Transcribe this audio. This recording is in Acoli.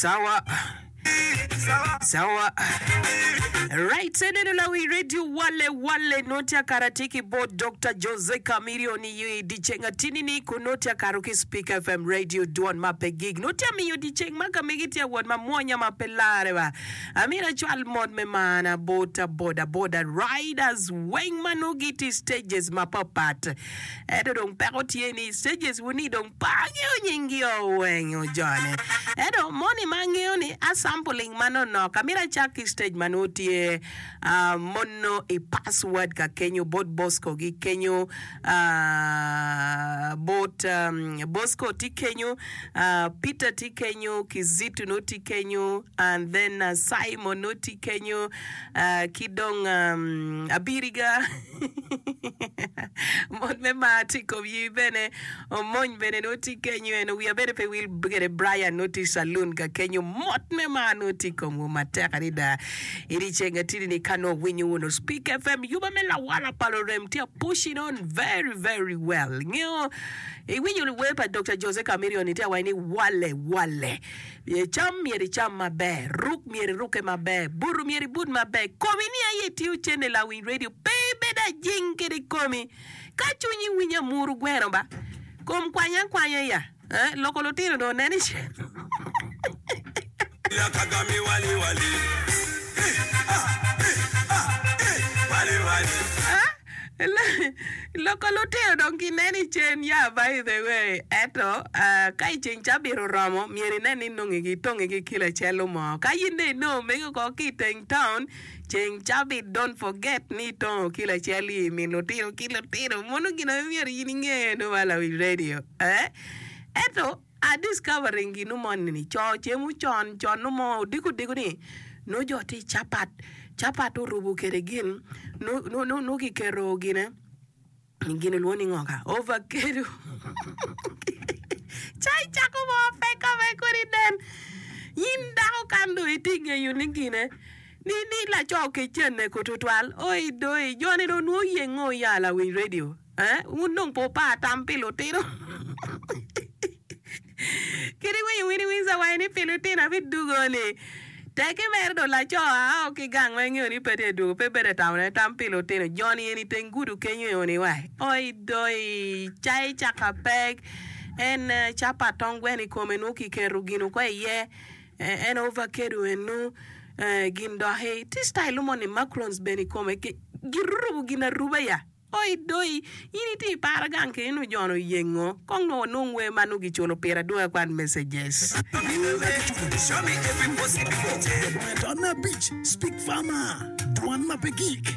Sawa. Sawa. Right, eneno lawi radio wale wale noti akara tye ki bot Dr. Jose Chameleone i dyeceng atini ni kun noti akaro ki Speak FM radio dwon ma pe gig. Noti amiyo dyeceng ma ka megi tye awot ma mwonya ma pe lare ba. Amito acwal mot me mana bot boda boda riders weng ma nongo gitye i stages mapapat. Ento dong peko tye ni stages wu ni dong pe angeyo nying gi o weng ojone. Ento moni ma angeyo ni a sampling manonok amito acak ki stage ma nongo tye mono i password ka kenyo bot Bosco gi kenyo bot Bosco tye kenyo Peter tye kenyo Kizito nongo tye kenyo and then Simon nongo tye kenyo ki dong Abiriga. Mot me mar tye i kom yi bene, omony bene nongo tye kenyo eno, wiya bene pe wil kede Brian nongo tye i saloon ka kenyo, mot me mar nongo tye i komwu matek adada. I dyeceng atidi ni ka nongo winyo wunu Speak FM yuba me lawala pa lurem tye a pushing on very very well. Ingeyo iwinyo wer pa Dokta Jose Chameleone tye awaci ni wale wale. Cam myero icam maber, ruk myero irukke maber, buto myero ibut maber, komi ni aye itiyo cente lawiny radio pe ibed ajing kede komi. Ka cwinyi winyo amuru gweno ba, kom kwanya akwanya ya, eh, loko lutino dong onen i cen. Loko lutino dong ginen i cen ya by the way ento ka i ceng cabit oromo myero inen ni inongi ki tongi ki kilo acel mo ka in dong inongo megi oko ki i teng town ceng cabit don't forget ni itongo kilo acel i min lutino ki lutino mono gin aye myero in inge eno ma lawiny radio eh ento a discovering ginu moni ni co cemo con con nongo mo odiko odiko ni nongo jo tye capat capat orubo kwede gin nongo kiketo gine gin olwongo ni ngo ka ovacado ca icako mo peko me kodi nen in dako kan dong itye ngeyo ni gine ni ni laco kec cene ko tutwal oi doi joni dong nwo yengo ya lawiny radio. Eh, wun dong pe wupar tam pi lutino. Kadi winyo Winnie Windsor waco ni pi lutino abidugo-ni. Tekki mere dong laco ao ki gang ma ingeyo ni pe tye dwogo, pe bedo tamo ne tam pi lutino. Joni eni teng gudo kenyo eni wa. Oi doi, cai caka pek, en capat tong gweno i kome nwo kiketo gin oko iye, en ovacado enu, gin doki. Tye style mo ni macrons bene i kome, girubo gin aruba ya. Oi doi, in itye i para gang keni nongo jo-ni oyengo, kong nongo wanong wer ma nongo giculo pire adwoga kwan messages. Dwan abic, Speak Farmer, Dwan ma pe gik.